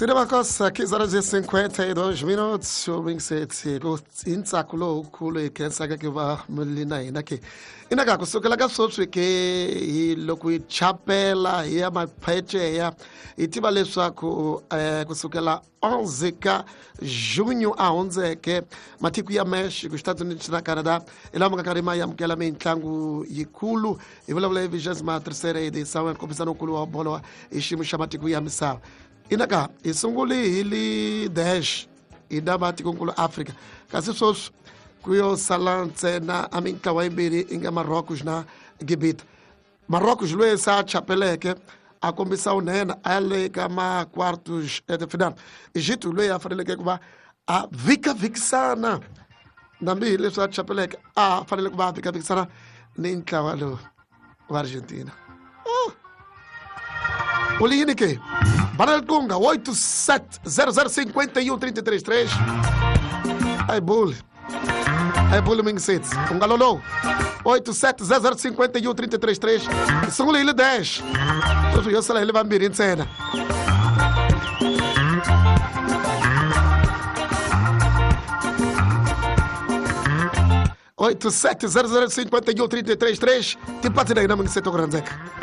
Cinema Costa, 15 horas e 52 minutos. O Wingset hi ntsako lowukulu hi khensaka ke va mi na hina ke inaka kusukela ka sweswi ke hi loko hi chapela hi ya mapheceya hi tiva leswaku um kusukela 11 ka junho a hundzeke matiko ya Mexico Estados Unidos na Canada hi lama nga karhi ma amukela mitlangu yikulu hi vulavula hi vigésima terceira edição ya nkombisano wukulu wa bolo hi xiyimo xa matiko ya misava. Inaka hi sungule hi li dash hi na matikonkulu Afrika, kasi sweswi ku yo sala ntsena a mintlawa yimbirhi i nga Marocos na Gibita. Marocos loyi se a chapeleke a kombisa vunene a le ka ma-quartos de final. Egito loyi a faneleke ku va a vhikavhikisana nambi hi leswi a chapeleke a fanele ku va a vhikavhikisana ni ntlawa lowu wa Argentina. Oh. U li yini ke? Banel Tunga 87 00 51 33 3. Ai bule. Ai bule mingisets. U nga lolowu. 87 00 51 33 3. Sungule hi li 10. Sweswi yo sala hi li vambirhi ntsena. 87 00 51 33 3. Tipati na hina mingiseto ku rhandzeka.